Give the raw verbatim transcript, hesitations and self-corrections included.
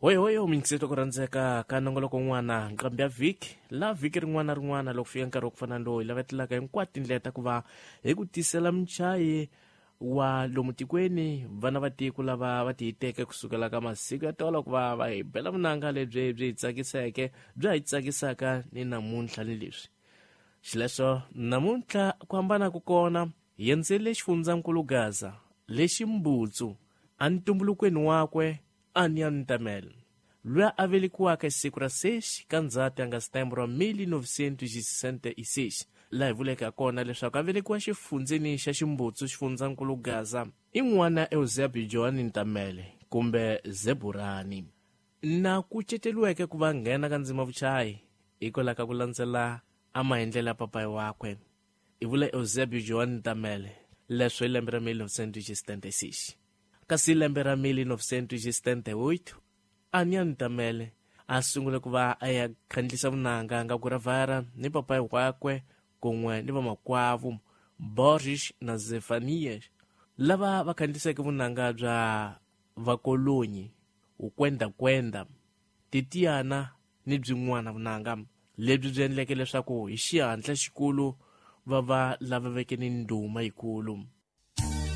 Hoyihoyi minkiseto ku rhandzeka ka nongoloko n'wana nqambi ya vhiki la vhiki rin'wana na rin'wana loko fika nkarhi wa ku fana lowu hi lavetelaka hinkwato tindlela ta ku va hi ku tisela muchayi wa lomu tikweni vana va tiko lava va tiyiteke kusukela ka masiku ya tolo ku va va hi bela vunanga lebyi byi hi tsakiseke bya hi tsakisaka ni namuntlha ni leswi xileswo namuntlha ku hambana ku kona hi endzele xifundzankulu Gaza lexi Mbutsu entumbulukweni wakwe Anian Ntamele loyi a velekiwaka hi siku ra seis ka Ndzhati ya nga setembro mil novecentos e sessenta e seis laha hi vuleke kona leswaku a velekiwa xifundzeni xa Ximbutsu xifundzankulu Gaza i n'wana Eusebio Joan Ntamele kumbe Zeburani na kuceteriweke ku va nghena ka ndzima vuchayi hikwalaho ka ku landzela a maendlelo ya papayi wakwe hi vula Eusebio Joan Ntamele leswo hi lembe ra mil novecentos e setenta e seis kasi lembe ra mil novecentos e setenta e oito Anian Ntamele a sungule ku va a ya khandlisa vunanga nga Guravara ni papayi wakwe kun'we ni vamakwavo Borges na Zefanias lava va khandliseke vunanga bya vakolonyi ukwendakwenda titiana ni byin'wana vunanga lebyi byi endleke leswaku hi xihatla xikulu va va lava veke ni ndhuma yikulu.